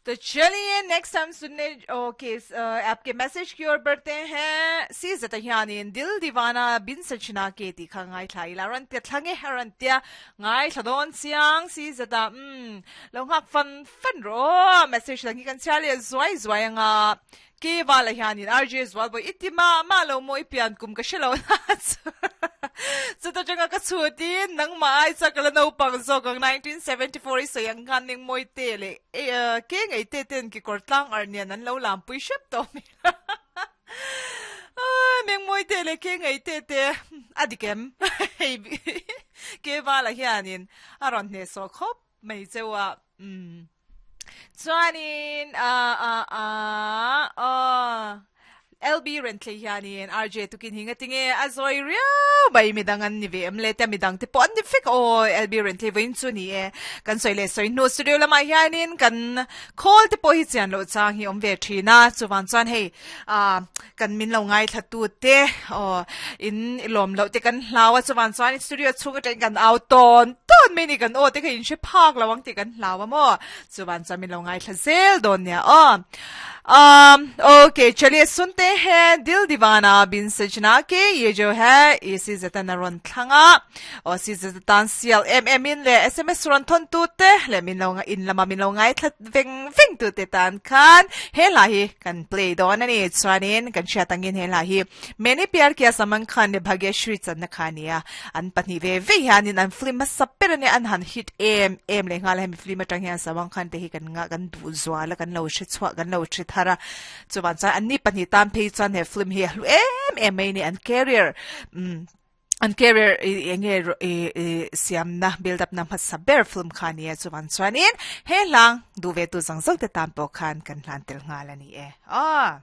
तो चलिए नेक्स्ट हम सुनने ओके आपके मैसेज की ओर बढ़ते हैं si zata hianin dil divana bin sachina ke ti kha ngai thla ila ran tia thlange ran tia ngai thla don chiang si zata um lo ngak fan fan ro message lang hi kan chhiar leh zuai zuai anga Ke vala hianin RJ Zualbawi i ti mah mah lo maw i pian kum ka hre lo na chu chuta tanga ka chhut in nangmah ai chuan ka la naupang zawk ang 1974 i sawi ang khan eng mawi te leh ke ngei te ten kekawr tlang arh nen an lo lam pui hrep tawh mai meng mawi te leh ke ngei te te a dik em hei ke vala hianin a rawn hnehsawh khawp mai cheu a umm. Chuanin ah ah ah aw LB Renthlei hianin RJ tukin hi ngatinge a zawi riau mai midang an ni ve em le tia midang te pawh an ni vek aw LB Renthlei vawiin chu ni e kan sawi leh sawi hnu studio lamah hianin kan khawl te pawh hi chian loh chang hi awm ve thin a chuvang chuan hei ah kan min lo ngaithla tu te aw in i lawm loh te kan hlau a chuvang chuan studio chhung atangin kan au tawn tawn mai a ni kan aw te kha in hre phak lo ang tih kan hlau a maw chuvang chuan min lo ngaithla zel dawn nia aw um okay chaliye sunte hain dil diwana bin sajna ke ye jo hai isi zatan a rawn thlang a aw si zatan sial em em in leh sms rawn thawn tu te leh min lo in lama min lo ngaithla veng veng tu te tan khan he hla hi kan play dawn a ni. Chuanin kan hriat angin he hla hi Maine Pyar Kiya Salman Khan leh Bhagyashree channa kha a ni a. An pahnih ve ve hianin an film hmasa ber a nia, an han hit em em leh nghal a. Hemi film atang hian Salman Khan te hi kan ngah kan duh zual a, kan lo hre chhuah kan lo hre thar a. Chuvang chuan anni pahnih tan phei chuan he film hi a hlu em em mai a ni. An career umm. An career i eng nge i i siamna build up na hmasa ber film kha a ni a chuan chuanin he hlang duh ve tu zawng zawng te tan pawh khan kan hlan tel nghal a ni e aw.